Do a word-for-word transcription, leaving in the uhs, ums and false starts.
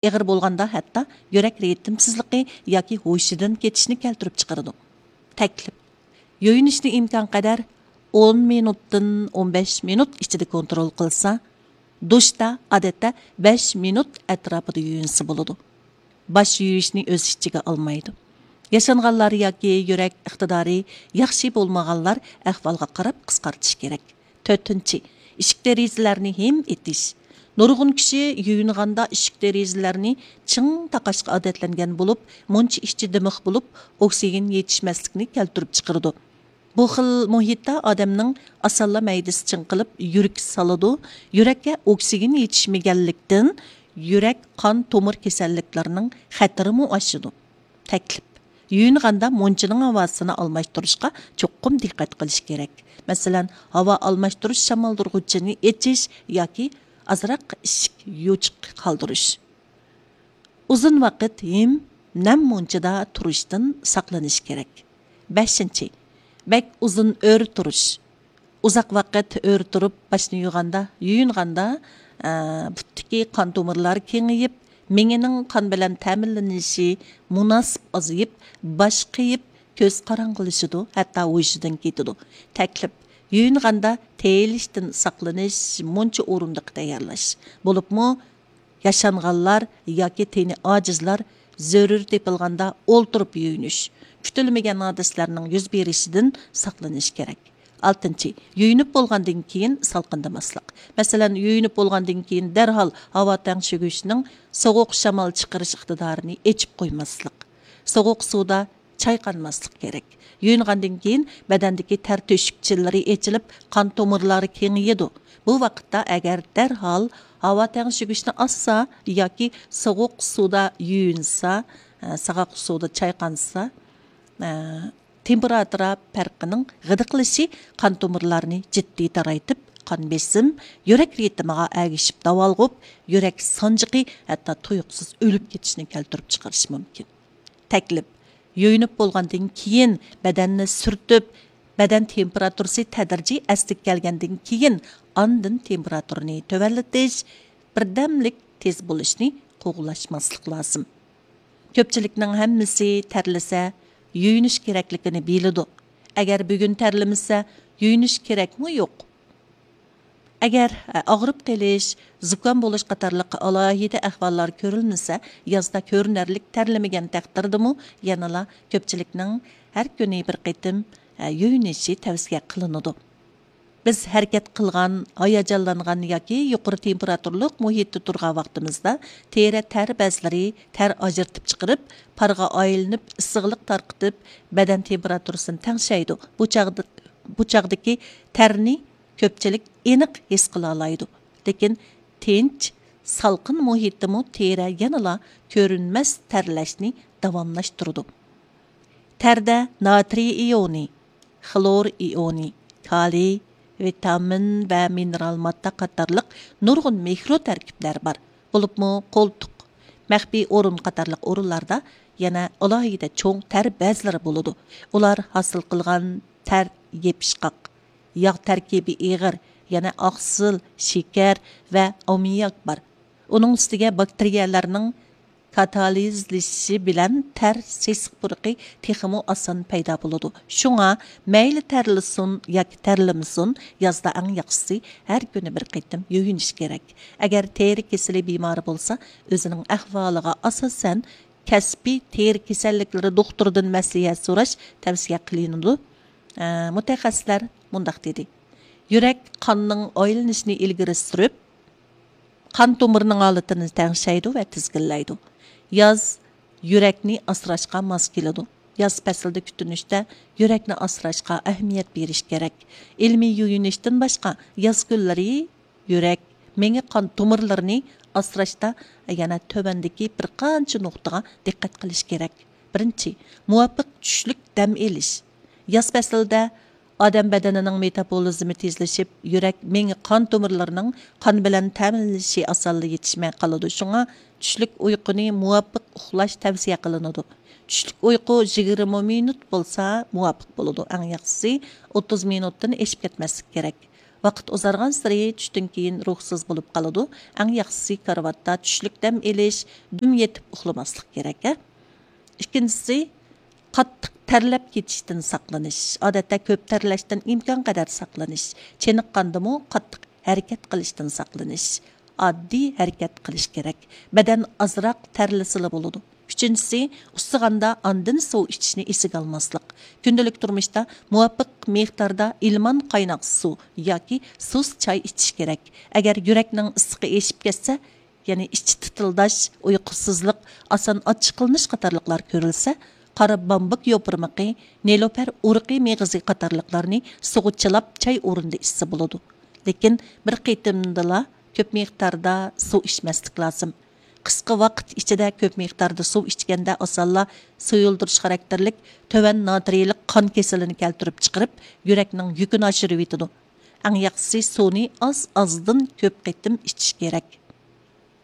ئېغىر بولغاندا ھەتتا يۈرەك رىتىمسىزلىقى ياكى ھوشىدىن كېتىشنى كەلتۈرۈپ چىقىرىدۇ. تەكلىپ: يۇيۇنۇشنى ئىمكانقەدەر ئون مىنۇتتىن ئون بەش مىنۇت ئىچىدە كونترول قىلسا، دۇشتا ئادەتتە بەش مىنۇت ئەتراپىدا يۇيۇنسا بولىدۇ. باش يۇيۇشنى ئۆز ئىچىگە ئالمايدۇ. ياشانغانلار ياكى يۈرەك ئىقتىدارى ياخشى بولمىغانلار ئەھۋالغا قاراپ قىسقارتىش كېرەك. تۆتىنچى، ئىشىك دېرىزىلەرنى ھىم ئېتىش. نۇرغۇن كىشى يۇيۇنغاندا ئىشىك دېرىزىلەرنى چىڭ تاقاشقا ئادەتلەنگەن بولۇپ، مۇنچە ئىچى دىمىق بولۇپ، ئوكسىگېن يېتىشمەسلىكنى كەلتۈرۈپ چىقىرىدۇ. بۇ خىل مۇھىتتا ئادەمنىڭ ئاسانلا مەيدىسى چىڭقىلىپ، يۈرىكى سالىدۇ. يۈرەككە ئوكسىگېن يېتىشمىگەنلىكتىن، يۈرەك، قان تومۇر كېسەللىكلىرىنىڭ خەتىرىمۇ ئاشىدۇ. تەكلىپ: يۇيۇنغاندا مۇنچىنىڭ ھاۋاسىنى ئالماشتۇرۇشقا چوقۇم دىققەت قىلىش كېرەك. مەسىلەن، ھاۋا ئالماشتۇرۇش شامالدۇرغۇچىنى ئېچىش ياكى ئازراق ئىشىك يوچۇق قالدۇرۇش. ئۇزۇن ۋاقىت ھىم، نەم مۇنچىدا تۇرۇشتىن ساقلىنىش كېرەك. بەشىنچى، بەك ئۇزۇن ئۆرە تۇرۇش. ئۇزاق ۋاقىت ئۆرە تۇرۇپ باشنى يۇغاندا، يۇيۇنغاندا، ئە، پۇتتىكى قان تومۇرلار كېڭىيىپ، مېڭىنىڭ قان بىلەن تەمىنلىنىشى مۇناسىپ ئازىيىپ، باش قېيىپ، كۆز قاراڭغۇلىشىدۇ، ھەتتا ھوشىدىن كېتىدۇ. تەكلىپ: يۇيۇنغاندا تېيىلىشتىن ساقلىنىش مۇنچە ئورۇندۇقى تەييارلاش. بولۇپمۇ ياشانغانلار ياكى تېنى ئاجىزلار زۆرۈر تېپىلغاندا ئولتۇرۇپ يۇيۇنۇش، كۈتۈلمىگەن ھادىسىلەرنىڭ يۈز بېرىشىدىن ساقلىنىش كېرەك. ئالتىنچى، يۇيۇنۇپ بولغاندىن كېيىن سالقىندىماسلىق. مەسىلەن، يۇيۇنۇپ بولغاندىن كېيىن دەرھال ھاۋا تەڭشىگۈچنىڭ سوغۇق شامال چىقىرىش ئىقتىدارىنى ئېچىپ قويماسلىق. سوغۇق سۇدا چايقانماسلىق كېرەك. يۇيۇنغاندىن كېيىن بەدەندىكى تەر تۆشۈكچىلىرى ئېچىلىپ، قان تومۇرلىرى كېڭىيىدۇ. بۇ ۋاقىتتا ئەگەر دەرھال ھاۋا تەڭشىگۈچنى ئاسسا ياكى سوغۇق سۇدا يۇيۇنسا، ئە، ساغاق سۇدا چايقانسا، ئە، تېمپېراتۇرا پەرقىنىڭ غىدىقلىشى قان تومۇرلارنى جىددىي تارايتىپ، قان بېسىم، يۈرەك رىتىمىغا ئەگىشىپ داۋالغۇپ، يۈرەك سانجىقى ھەتتا تۇيۇقسىز ئۆلۈپ كېتىشنى كەلتۈرۈپ چىقىرىشى مۇمكىن. تەكلىپ: يۇيۇنۇپ بولغاندىن كېيىن بەدەننى سۈرتۈپ، بەدەن تېمپېراتۇرىسى تەدرىجىي ئەسلىگە كەلگەندىن كېيىن، ئاندىن تېمپېراتۇرىنى تۆۋەنلىتىش، بىردەملىك تېز بولۇشنى قوغلاشماسلىق لازىم. كۆپچىلىكنىڭ ھەممىسى تەرلىسە، يۇيۇنۇش كېرەكلىكىنى بىلىدۇ. ئەگەر بۈگۈن تەرلىمىسە، يۇيۇنۇش كېرەكمۇ يوق. ئەگەر، ئە، ئاغرىپ قېلىش، زۇكام بولۇش قاتارلىق ئالاھىدە ئەھۋاللار كۆرۈلمىسە، يازدا كۆرۈنەرلىك تەرلىمىگەن تەقدىردىمۇ يەنىلا كۆپچىلىكنىڭ ھەر كۈنى بىر قېتىم، ئە، يۇيۇنۇشى تەۋسىيە قىلىنىدۇ. بىز ھەرىكەت قىلغان، ھاياجانلانغان ياكى يۇقىرى تېمپېراتۇرلۇق مۇھىتتا تۇرغان ۋاقتىمىزدا تېرە تەر بەزلىرى تەر ئاجرىتىپ چىقىرىپ، پارغا ئايلىنىپ، ئىسسىقلىق تارقىتىپ، بەدەن تېمپېراتۇرىسىنى تەڭشەيدۇ. بۇ چاغدا، بۇ چاغدىكى تەرنى كۆپچىلىك ئېنىق ھېس قىلالايدۇ. لېكىن تىنچ، سالقىن مۇھىتتىمۇ تېرە يەنىلا كۆرۈنمەس تەرلەشنى داۋاملاشتۇرىدۇ. تەردە ناترىي ئىيونى، خلور ئىيونى، كالىي، ۋىتامىن ۋە مىنېرال ماددا قاتارلىق نۇرغۇن مىكرو تەركىبلەر بار. بولۇپمۇ قولتۇق، مەخپىي ئورۇن قاتارلىق ئورۇنلاردا يەنە ئالاھىدە چوڭ تەر بەزلىرى بولىدۇ. ئۇلار ھاسىل قىلغان تەر يېپىشقاق، ياغ تەركىبى ئېغىر، يەنە ئاقسىل، شېكەر ۋە ئاممىياك بار. ئۇنىڭ ئۈستىگە باكتېرىيەلەرنىڭ كاتالىزلىشىشى بىلەن تەر سېسىق پۇرىقى تېخىمۇ ئاسان پەيدا بولىدۇ. شۇڭا مەيلى تەرلىسۇن ياكى تەرلىمىسۇن، يازدا ئەڭ ياخشىسى ھەر كۈنى بىر قېتىم يۇيۇنۇش كېرەك. ئەگەر تېرە كېسىلى بىمارى بولسا، ئۆزىنىڭ ئەھۋالىغا ئاساسەن، كەسپىي تېرە كېسەللىكلىرى دوختۇرىدىن مەسلىھەت سوراش تەۋسىيە قىلىنىدۇ. ئە، مۇتەخەسسىسلەر مۇنداق دېدى: يۈرەك قاننىڭ ئايلىنىشىنى ئىلگىرى سۈرۈپ، قان تومۇرىنىڭ ھالىتىنى تەڭشەيدۇ ۋە تىزگىنلەيدۇ. ياز يۈرەكنى ئاسراشقا ماس كېلىدۇ. ياز پەسلىدە كۈتۈنۈشتە يۈرەكنى ئاسراشقا ئەھمىيەت بېرىش كېرەك. ئىلمىي يۇيۇنۇشتىن باشقا، ياز كۈنلىرى يۈرەك، مېڭە قان تومۇرلىرىنى ئاسراشتا يەنە تۆۋەندىكى بىر قانچە نۇقتىغا دىققەت قىلىش كېرەك. بىرىنچى، مۇۋاپىق چۈشلۈك دەم ئېلىش. ياز پەسلىدە ئادەم بەدىنىنىڭ مېتابولىزمى تېزلىشىپ، يۈرەك، مېڭە قان تومۇرلىرىنىڭ قان بىلەن تەمىنلىشى ئاسانلا يېتىشمەي قالىدۇ. شۇڭا چۈشلۈك ئۇيقۇنى مۇۋاپىق ئۇخلاش تەۋسىيە قىلىنىدۇ. چۈشلۈك ئۇيقۇ يىگىرمە مىنۇت بولسا مۇۋاپىق بولىدۇ. ئەڭ ياخشىسى ئوتتۇز مىنۇتتىن ئېشىپ كەتمەسلىك كېرەك. ۋاقىت ئۇزارغانسېرى چۈشتىن كېيىن روھسىز بولۇپ قالىدۇ. ئەڭ ياخشىسى كارىۋاتتا چۈشلۈك دەم ئېلىش، دۈم يېتىپ ئۇخلىماسلىق كېرەك، ھە؟ ئىككىنچىسى، قاتتىق تەرلەپ كېتىشتىن ساقلىنىش. ئادەتتە كۆپ تەرلەشتىن ئىمكانقەدەر ساقلىنىش. چېنىققاندىمۇ قاتتىق ھەرىكەت قىلىشتىن ساقلىنىش. ئاددىي ھەرىكەت قىلىش كېرەك. بەدەن ئازراق تەرلىسىلا بولىدۇ. ئۈچىنچىسى، ئۇسسىغاندا ئاندىن سۇ ئىچىشنى ئېسىگە ئالماسلىق. كۈندىلىك تۇرمۇشتا مۇۋاپىق مىقداردا ئىلمان قايناق سۇ ياكى سۇس چاي ئىچىش كېرەك. ئەگەر يۈرەكنىڭ ئىسسىقى ئېشىپ كەتسە، يەنى ئىچى تىتىلداش، ئۇيقۇسىزلىق، ئاسان ئاچچىقلىنىش قاتارلىقلار كۆرۈلسە، قارا بامبۇك يوپۇرمىقى، نېلۇپەر ئۇرۇقى مېغىزى قاتارلىقلارنى سۇغا چىلاپ چاي ئورنىدا ئىچسە بولىدۇ. لېكىن بىر قېتىمدىلا كۆپ مىقداردا سۇ ئىچمەسلىك لازىم. قىسقا ۋاقىت ئىچىدە كۆپ مىقداردا سۇ ئىچكەندە ئاسانلا سۇيۇلدۇرۇش خاراكتېرلىك تۆۋەن ناترىيلىق قان كېسىلىنى كەلتۈرۈپ چىقىرىپ، يۈرەكنىڭ يۈكىنى ئاشۇرۇۋېتىدۇ. ئەڭ ياخشىسى سۇنى ئاز-ئازدىن كۆپ قېتىم ئىچىش كېرەك.